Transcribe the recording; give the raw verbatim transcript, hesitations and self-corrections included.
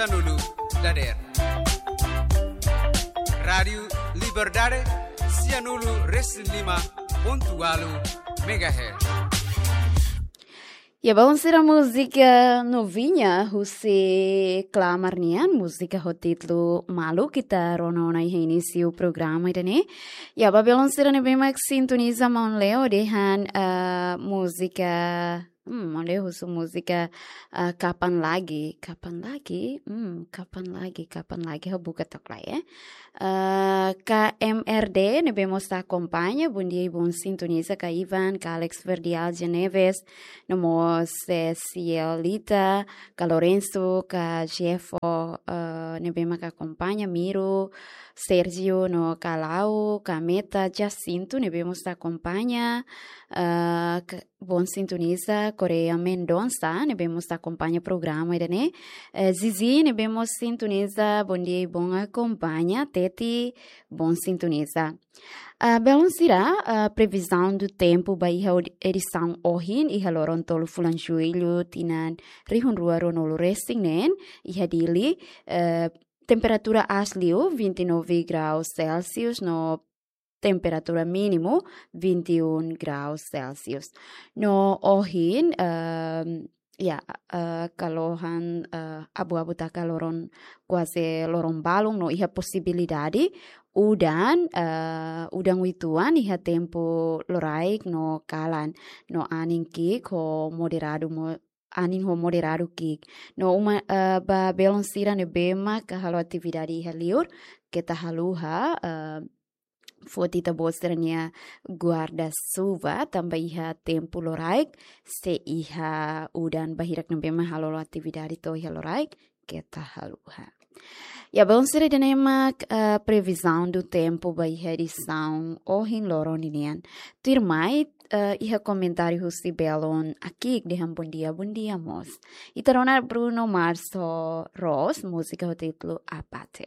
Sianulu dader. Rádiu Liberdade, sianulu resin lima pontu ualu megahertz. Ya, belun sira, múzika novinha husi Klamar nian, múzika ho títulu Maluk, ita rona ona iha inísiu programa ida-ne'e. Ya, ba belun sira ne'ebé mak sintoniza Maun Leo dehan, eh, múzika, hmm, Maun Leo husu múzika, eh, Kapan Lagi, Kapan Lagi, hmm, Kapan Lagi, Kapan Lagi, ha'u buka took lai, eh. Eh, K M R D ne'ebé mós akompaña, bondia i bon sintoniza, Ka Ivan, Ka Alex Verdial Geneves, no mós, eh, Cielita, Ka Lorenzo, Ka Jeffo, eh, ne'ebé mak akompaña, Miro, Sergio, no Ka Lau, Ka Meta, Jacinto ne'ebé mós akompaña, eh, Ka-, bon sintoniza, Korea Mendonça ne'ebé mós akompaña programa ida-ne'e, eh, Zizi ne'ebé mós sintoniza, bondia i bon akompaña, Teti, bon sintoniza. Ah, belun sira, ah, previzaun do tempu ba iha ed-, edisaun ohin, iha loron tolu fulan Jullu, tinan rihun rua ruanulu resin neen, iha Dili, eh, temperatura aas liu vinte e nove graus Celsius, no temperatura mínimu vinte e um graus Celsius. No ohin, ehm, ya, eh, kalohan, eh, abu-abu taka loron, kuaze loron balun, no iha posibilidade udan, eh, udan uitoan iha tempu loraik no kalan, no anin ki'ik ho moderadu mo-, anin ho moderadu ki'ik. No uma, eh, ba belun sira ne'ebé mak halo atividade iha liur, keta haluha, eh, foti ita-boot sira-nia guarda-chuva, tanba iha tempu loraik, se iha udan ba hirak ne'ebé mak halo atividade to'o iha loraik, keta haluha. Ya, belun sira, ida-ne'e mak, eh, previzaun do tempu ba iha edisaun ohin loron ninian. Tuirmai, eh, iha komentáriu husi belun Akik dehan bondia, bondia mós. Ita rona Bruno Mars ho Rose, múzika ho títulu Abate.